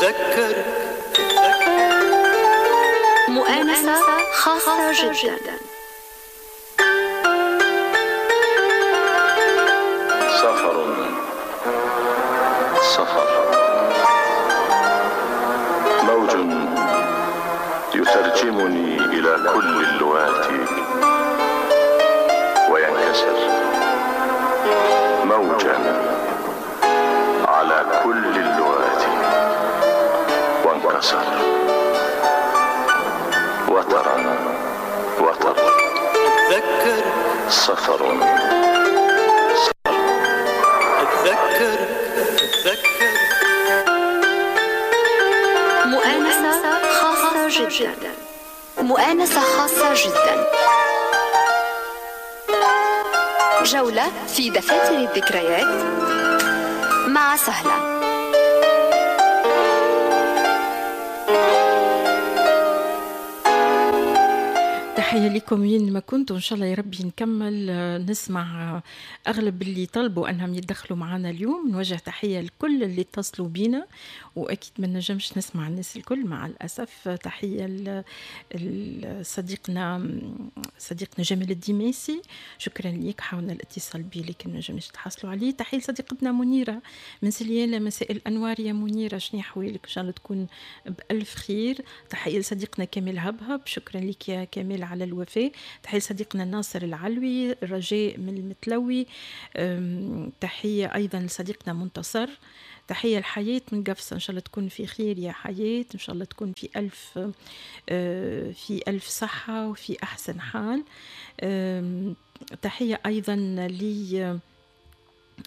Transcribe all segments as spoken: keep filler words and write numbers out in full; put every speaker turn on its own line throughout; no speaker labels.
أتذكر
مؤانسة خاصة جدا.
سفر سفر موج يترجمني إلى كل اللغات وينكسر موجا على كل اللغات وانكسر وترا وتر.
أتذكر
سفر
أتذكر أتذكر
مؤانسة خاصة جدا. مؤانسة خاصة جدا. جولة في دفاتر الذكريات مع سهلة.
تحية لكم وين ما كنتوا، إن شاء الله يا ربي نكمل نسمع أغلب اللي طلبوا أنهم يتدخلوا معنا اليوم. نوجه تحية لكل اللي اتصلوا بينا، وأكيد ما نجمش نسمع الناس الكل مع الأسف. تحية لصديقنا صديقنا جمال الديماسي، شكرا ليك، حاولنا الاتصال بيه لكن ما نجمش تحصلوا عليه. تحية لصديقتنا منيرة من سليانة، مساء الأنوار يا منيرة، شنو أحوالك؟ إن شاء الله تكون بألف خير. تحية لصديقنا كمال هبهب، شكرا لك يا كمال على الوفاء. تحية لصديقنا ناصر العلوي، رجاء من المتلوي. تحية أيضا لصديقنا منتصر. تحية الحياة من قفصة، إن شاء الله تكون في خير يا حياة، إن شاء الله تكون في ألف في ألف صحة وفي أحسن حال. تحية أيضا لي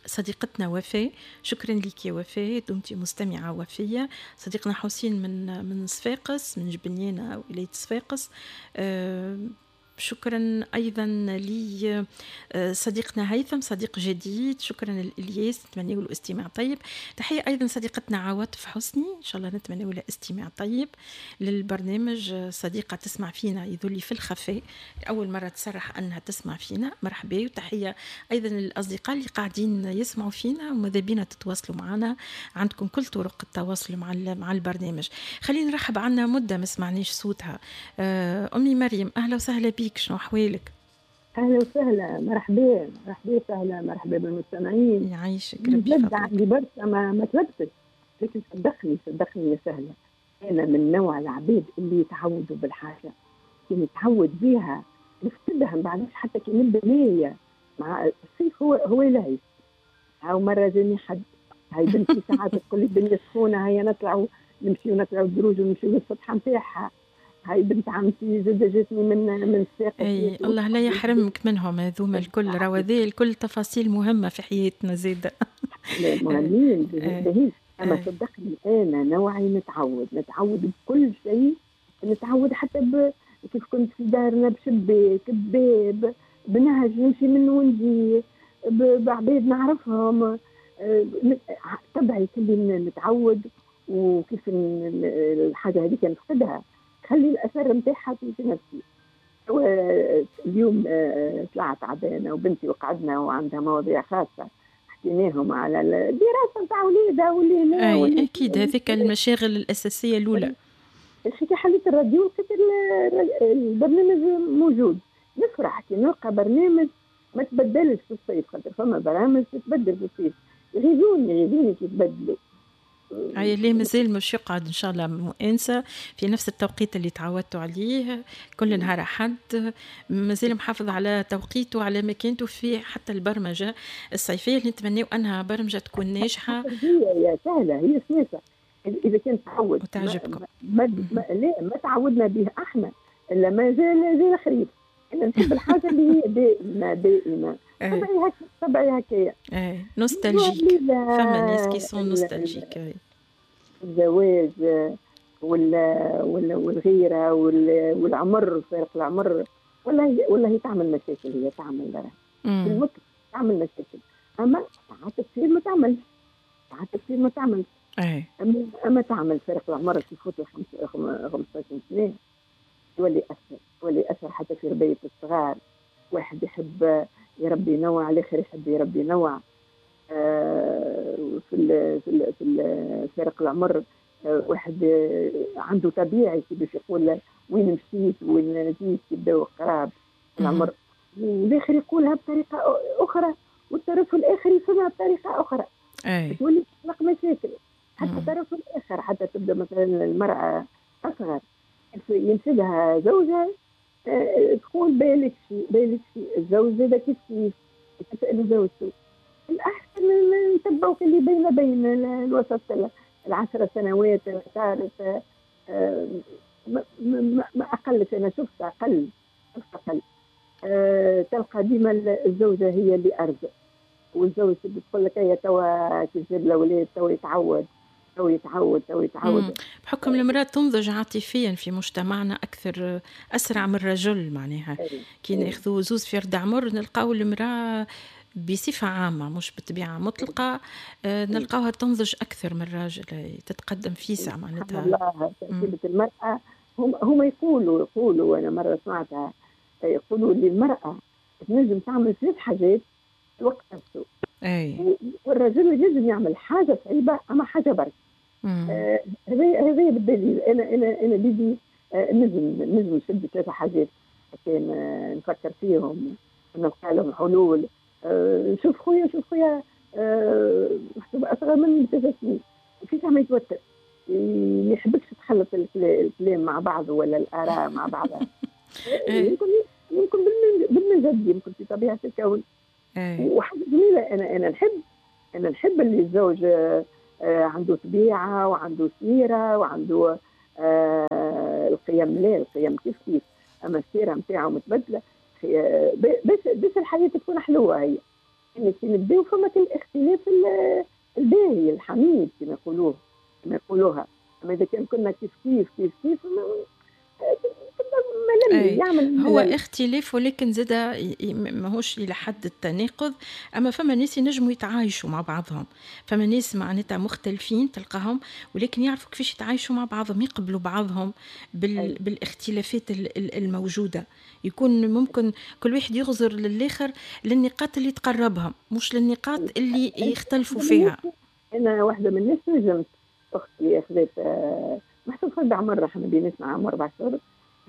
صديقتنا وفاء، شكرا لك يا وفاء، دمتي مستمعة وفية. صديقنا حسين من من صفاقس، من جبنيانة ولاية صفاقس. أه شكرا ايضا لي صديقنا هيثم، صديق جديد، شكرا لإلياس، نتمنى له استماع طيب. تحية ايضا صديقتنا عواطف حسني، ان شاء الله نتمنى لها استماع طيب للبرنامج. صديقه تسمع فينا يذلي في الخفاء، اول مرة تصرح انها تسمع فينا، مرحبا. وتحية ايضا للاصدقاء اللي قاعدين يسمعوا فينا وماذا بينا تتواصلوا معنا، عندكم كل طرق التواصل مع مع البرنامج. خلينا نرحب، عنا مده ما سمعناش صوتها، امي مريم، اهلا وسهلا بك، شنو احوالك؟
اهلا وسهلا، مرحبا مرحبا سهلا، مرحبا بالمستمعين.
يعيشك ربي يفضلك.
عندي برشا ما ما تلبست، لكن صدقني صدقني يا سهلة، انا من نوع العباد اللي يتعودوا بالحاجة، كي نتعود بيها نفقدها ما بعدش، حتى كي نبدا نايه مع الصيف هو هو لهي. هاو مرة جاني حد، هاي بنتي ساعات تقول لي الدنيا سخونة، هيا نطلعوا نمشيو نطلعوا الدروج ونمشيو للسطح نتاعها. هاي بنت عمتي زاد جاتني من من الساقط.
اي الله لا يحرمك منهم هذوما الكل، راهو هذه الكل تفاصيل مهمة في حياتنا زاده.
مهمين باهيين، اما صدقني انا نوعي نتعود، نتعود بكل شيء، نتعود حتى ب... كيف كنت في دارنا بشباك بباب بنهج نمشي منه ونجي بعباد نعرفهم، طبعي كلي نتعود، وكيف الحاجة هذيك نفقدها خلي الاثر نتاعها في نفسي. اليوم طلعت عبانه وبنتي وقعدنا وعندها مواضيع خاصة حكيناهم على الدراسة نتاع ولادها واللي هنا.
اي اكيد هذيك المشاغل الاساسية الاولى.
كي حليت الراديو لقيت البرنامج موجود، نفرح كي نلقى برنامج ما تبدلش في الصيف، خاطر فما برامج تتبدل في الصيف، يغيظوني يغيظوني كي تبدلوا.
هاي ليه مازال مش يقعد ان شاء الله مؤانسه في نفس التوقيت اللي تعودتوا عليه كل نهار احد، مازال محافظ على توقيته وعلى مكانته في حتى البرمجة الصيفية اللي نتمناو انها برمجة تكون ناجحة.
هي يا سهلة، هي سياسة اذا كانت تعود
وتعجبكم.
ما ما لا ما تعودنا به احنا الا ما زال زي الخريف. انا نحب الحاجة اللي هي دائمة دائمة. طبعي هكا طبعي هكايا.
ايه nostalgique، فما ناس qui sont nostalgiques.
الزواج ولا ولا والغيرة والعمر، فارق العمر، ولا ولا هي تعمل مشاكل، هي تعمل في تعمل مشاكل، اما ساعات تصير ما تعملش، ساعات تصير ما تعملش.
ايه
اما اما تعمل فارق العمر كي يفوت خمسطاش سنة يولي اثر، يولي اثر حتى في ربايه الصغار. واحد يحب يربي نوع، الاخر يحب يربي نوع. آه في ال في ال في فرق العمر واحد عنده طبيعي كي باش يقول وين مشيت وين جيت يبداو قراب العمر، والاخر يقولها بطريقة اخرى والطرف الاخر يفهمها بطريقة اخرى.
أي.
تولي تخلق مشاكل حتى الطرف الاخر، حتى تبدا مثلا المراة اصغر ينشدها زوجها تقول بالك شيء بالك شيء، الزوج زاد كيف كيف تسأل زوجته. الأحسن نتبعوا اللي بين بين الوسط العشر سنوات الثالث، ما أقلش، أنا شفت أقل شفت أقل. أه تلقى ديما الزوجة هي اللي أرزق، والزوج بتقول لك هي توا كي تجيب الأولاد توا يتعود تو يتعود تو يتعود.
بحكم المرأة تنضج عاطفيا في مجتمعنا أكثر أسرع من الرجل، معناها كي ناخذوا زوز في رد عمر نلقاو المرأة بصفة عامة مش بالطبيعة مطلقة نلقاوها تنضج أكثر من الراجل، تتقدم فيسع معناتها.
الله، تركيبة المرأة هم هم يقولوا يقولوا أنا مرة سمعتها يقولوا اللي المرأة تنجم تعمل ثلاث حاجات في الوقت نفسه.
أي.
والرجل ينجم يعمل حاجة صعيبة أما حاجة برك. هذا هذا بالدليل. انا انا انا بيدي آه نجم نجم نشد ثلاثة حاجات كان آه نفكر فيهم ونلقى لهم حلول. آه نشوف خويا نشوف خويا آه محسوب اصغر مني بثلاث سنين، فيسع ما يتوتر، ما يحبكش تخلط الكلام مع بعضه ولا الاراء مع بعضها. يمكن يمكن بالمزاج، يمكن في طبيعة الكون. وحاجه جميلة، انا انا نحب انا نحب اللي الزوج آه عنده طبيعة وعنده سيرة وعنده آه القيم. لا القيم كيف كيف، أما السيرة متاعه متبدلة باش باش الحياة تكون حلوة. هي يعني كي نبداو فما الاختلاف الباهي الحميد كما يقولوه كما يقولوها. أما إذا كان كنا كيف كيف كيف كيف
يعمل هو اختلاف، ولكن زاد ماهوش الى حد التناقض. اما فما ناس ينجموا يتعايشوا مع بعضهم، فما ناس معناتها مختلفين تلقاهم ولكن يعرفوا كيفاش يتعايشوا مع بعضهم، يقبلوا بعضهم بال... بالاختلافات الموجودة. يكون ممكن كل واحد يغزر للاخر للنقاط اللي تقربهم مش للنقاط اللي يختلفوا فيها.
انا واحدة من الناس نجمت اختي خذت محسوب خذت عمر، احنا بيناتنا عام اربع شهور،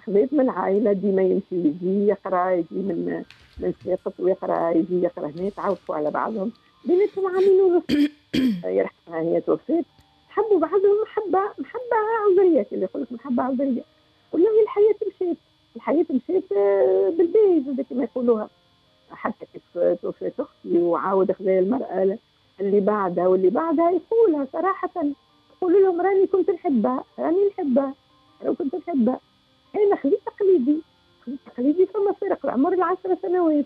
خذيت من العائلة ديما يمشي يجي يقرا، يجي من من صفاقس ويقرا، يجي يقرا هنا، تعرفوا على بعضهم بيناتهم عامين ونص. يرحمها هي توفات، حبوا بعضهم محبة محبة عذريه، اللي يقول لك محبة عذريه. والله الحياة مشات، الحياة مشات بالباهي كما يقولوها. حتى كيف توفات اختي وعاود خذا المراة اللي بعدها واللي بعدها، يقولها صراحة، يقولوا لهم راني كنت نحبها، راني نحبها، راني كنت نحبها. أنا خذيت تقليدي، خذيت تقليدي فما فرق العمر العشر سنوات،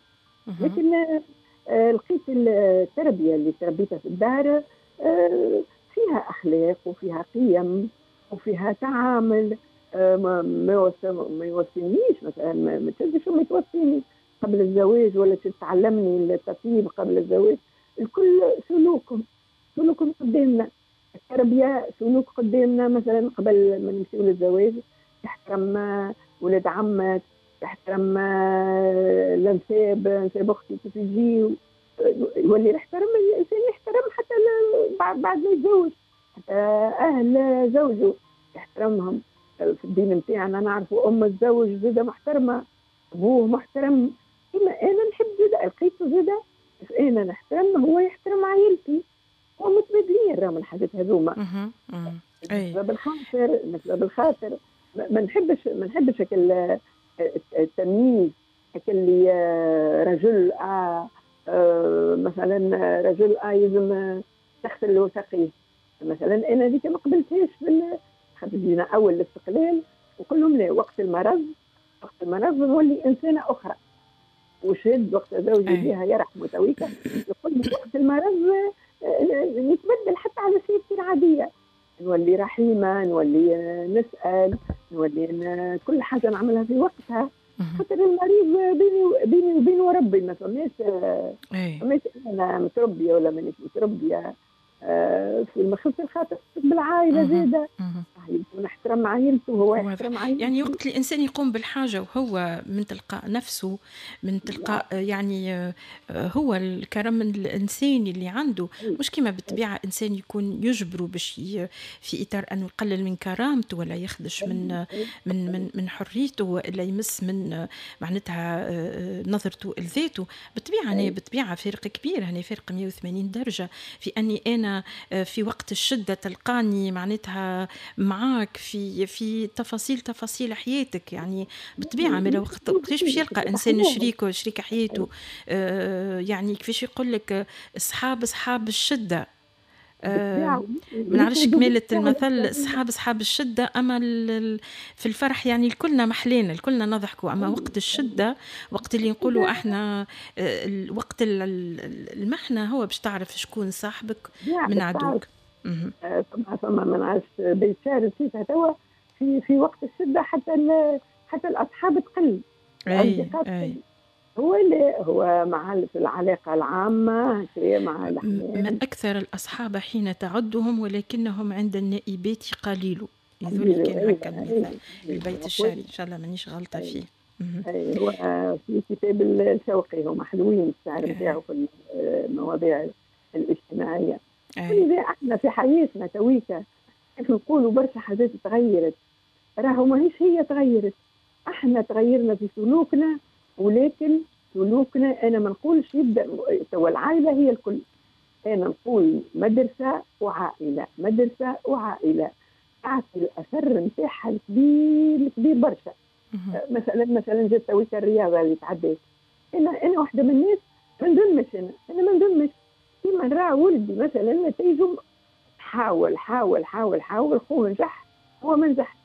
لكن آه لقيت التربية اللي تربيتها في الدار آه فيها أخلاق وفيها قيم وفيها تعامل. آه ما ما يوصينيش مثلا، ما تشدش وما توصيني قبل الزواج ولا تتعلمني التطيب قبل الزواج. الكل سلوكهم سلوكهم قدامنا، التربية سلوك قدامنا. مثلا قبل ما نمشيو للزواج تحترم ولاد عمك، تحترم الانساب، انساب اختي كيف يجي، يولي يحترم الانسان، يحترم حتى بعد ما يتزوج، حتى اهل زوجه يحترمهم. في الدين نتاعنا نعرفوا ام الزوج زاده محترمه، ابوه محترم. كما انا نحب زاده، لقيته زاده انا نحترم، هو يحترم عائلتي، هو متبادلين راهم الحاجات هذوما. بالخاطر بالخاطر ما نحبش ما نحبش التمييز، اللي رجل آه مثلا رجل آه يلزم تغسل له ساقيه مثلا. انا هذيك ما قبلتهاش في خاطر جينا اول الاستقلال وقول لهم لا، وقت المرض وقت المرض نولي انسانه اخرى. وشد وقت زوجي بها يرحمه تويكا يقول لي وقت المرض نتبدل حتى على سيرتي العادية، نولي رحيمه، نولي نسال، نولي كل حاجة نعملها في وقتها. خاطر المريض بيني بيني وبينه ربي، ما فماش فماش انا متربيه ولا مانيش متربيه. في المخص الخاطر بالعائلة زاده عائلته، نحترم عائلته وهو يحترم عائلته.
يعني وقت الانسان يقوم بالحاجة وهو من تلقاء نفسه، من تلقاء يعني هو الكرم الانساني اللي عنده، مش كما بالطبيعة انسان يكون يجبره باش في اطار انه يقلل من كرامته ولا يخدش من من من من حريته والا يمس من معناتها نظرته لذاته. بالطبيعة هنا بالطبيعة فرق كبير، هنا فرق مية وثمانين درجه في اني انا في وقت الشدة تلقاني معناتها معاك في في تفاصيل تفاصيل حياتك. يعني بالطبيعة ما وقت وقتاش باش يلقى انسان شريكه شريك حياته، آه يعني كيفاش يقول لك اصحاب اصحاب الشدة، آه ما نعرفش كمالة المثل، اصحاب اصحاب الشدة، اما في الفرح يعني الكلنا محلينا الكلنا نضحكوا، اما وقت الشدة وقت اللي نقولوا احنا وقت المحنة هو باش تعرف شكون صاحبك من عدوك.
فما فما ما نعرفش بيت شعر نسيتها توا، في في وقت الشدة حتى حتى الاصحاب تقل،
الاصدقاء تقل.
هو اللي هو مع في العلاقة العامة مع
من أكثر الأصحاب حين تعدهم ولكنهم عند النائبات قليل. يذول كان هكا المثال البيت الشعري، إن شاء الله مانيش غلطة فيه.
أي هو في كتاب الشوقي، هما حلوين الشعر نتاعو في المواضيع الاجتماعية. ولذا احنا في حياتنا تويكا كيف نقولوا برشا حاجات تغيرت، راهو ماهيش هي تغيرت، احنا تغيرنا في سلوكنا، ولكن سلوكنا انا ما نقولش يبدا توا العائلة هي الكل، انا نقول مدرسه وعائلة، مدرسه وعائلة تعطي الاثر نتاعها الكبير الكبير برشا. مثلا مثلا جات تويكا الرياضة اللي تعديت، انا انا واحدة من الناس ما نذمش، انا انا ما نذمش كيما نرى ولدي مثلا نتائجه، حاول حاول حاول حاول، خوه نجح هو ما نجحش.